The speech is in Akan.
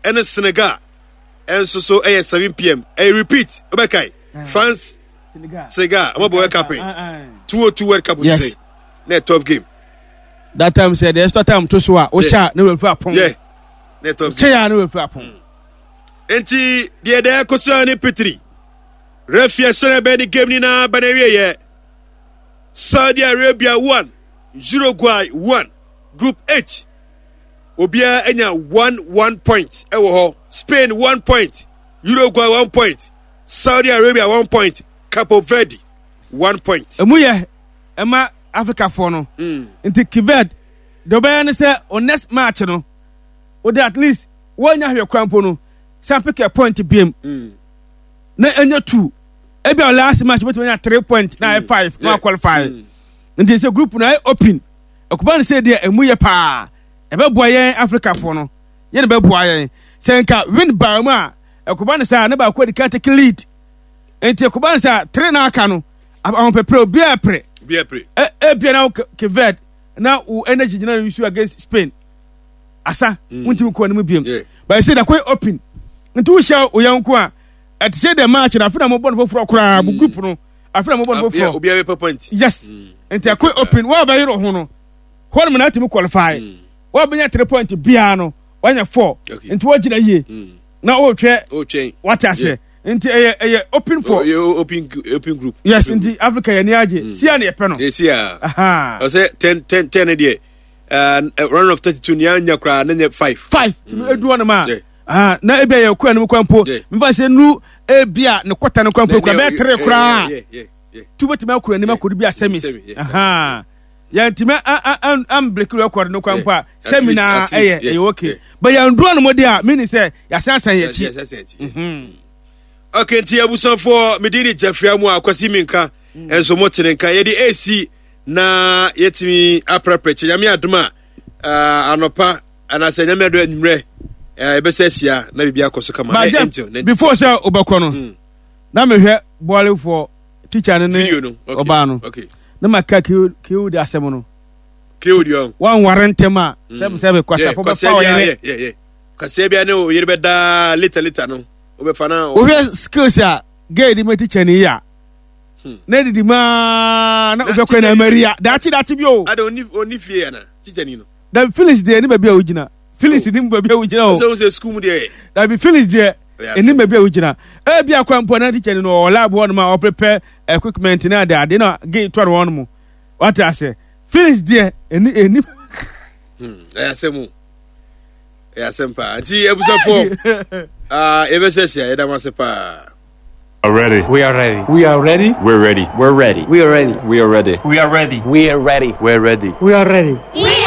ɛne Senegal ɛnso so ɛyɛ 7 pm. Ɛyɛ repeat, wobɛkae France Senegal ɔmo bɔ World Cup yi 202 World Cup Yes. sɛ na yɛ tough game. That time sɛ the extra time to so a wohyɛ a na wafiri apɔn. Yeah, na yɛ tough game. Kyɛ a na wafiri apɔn. Nti deɛ deɛ ɛkɔ so ne pitiri refi ɛhyɛn bɛn ne game nyinaa bɛn awie yɛ Saudi Arabia 1, Uruguay 1. Group H, obiara anya 1 1 point ɛwɔ hɔ. Spain 1 point, Uruguay 1 point, Saudi Arabia 1 point, Capo Verde 1 point. Emu yɛ ɛma Africafoɔ no. Nti Kived deɛ ɔbɛyɛ ne sɛ o next match no wode at least wɔnya hwɛ kwan mpo no san pick a point biem na ɛnyɛ two. Ebi a last match wobɛtumi anya 3 point na ayɛ 5 na qualify. Nti sɛ group no ayɛ open, ɛkɔba no sɛ deɛ ɛmu yɛ paa, ɛbɛboa yɛn Africafoɔ no, yɛn na ɛbɛboa yɛn. Sɛ nka win baa mu a, ɛkɔba no sɛ ne baako adi kan take lead. Nti ɛkɔba no sɛ 3 na aka no, ahopɛprɛ obiara pere. Ebia na wo Cape na wo energy gyina no use against Spain. Asa, wontumi kɔ anim biem. But sɛ da kɔ open. Nti wohyia wo yɔnko a, ɛte sɛ the match na afei na mobɔ no foforɔ koraa mo group no afei na mobɔ no foforɔ. Obiara bɛpɛ point. Yes. Nti ɛkɔ open wɔn a bɛyere ho no hɔ nom na atumi qualify. Wɔn a bɛnya 3 point biara no wɔanya 4. Nti wɔgyina yie na wɔretwɛ wate aseɛ. Nti ɛyɛ ɛyɛ open for open open group. Yes, nti Africa yɛ ni agye. Sia na yɛpɛ no. Sia. Ɔsɛ 10 10 10 deɛ round of 32 ni anya koraa na nyɛ 5. 5. Tumi edu hɔ nom a. Na ebi a yɛ kɔ anim kwan mpo. Mfa sɛ nu ebi a ne kɔta no kwan mpo kura bɛyɛ tere koraa. Tu bɛtumi akɔ anim akɔdu bi a semis. Yɛntumi ambreki record no kwan mpo a semi na ɛyɛ ɛyɛ okay. But yɛn duro no mo de a meaning sɛ yɛasansan yɛn akyi. Okay, nti abusuafoɔ mede ne Jeffrey amu a Kwasi Minka nso mo tene nka yɛde esi na yɛtumi aprɛprɛ kyɛ Nyame adom a anɔpa anaasɛ Nyame adom anwummerɛ yɛbɛsɛ ahyia na biribi akɔ so kama. But before sɛ wobɛkɔ no na mehwɛ bɔɔlefoɔ teacher no ne ɔbaa no na ma ka kiw de asɛm no wanware ntɛm a sɛbi sɛbi kwasafo bɛfa wo yere kwasia bia ne wo yere bɛdaa later later no wobɛfa na wohwɛ skills a gay de ma teacher ni yi a na didi maa na wobɛkɔ na maria daakye daakye bi o ada onni onni fie ana teacher ni no dabi Phyllis deɛ ne baabi a wogyina Phyllis ne baabi a wogyina o sɛ wo sɛ school mu deɛ dabi Phyllis deɛ ɛni baabi a wogyina ebi akora mpo na teacher ni no ɔwɔ lab hɔ nom a ɔprepare equipment ne ade ade na gay tɔ no hɔ nom wate ase Phyllis deɛ ɛni ɛni ɛyɛ asɛm o ɛyɛ asɛm paa nti abusuafoɔ yɛbɛhyɛ hyia yɛda mo ase paa. Ready. We are ready. We are ready. We're ready. We're ready. We are ready. We are ready. We are ready. We are ready. We're ready. We are ready. We are ready.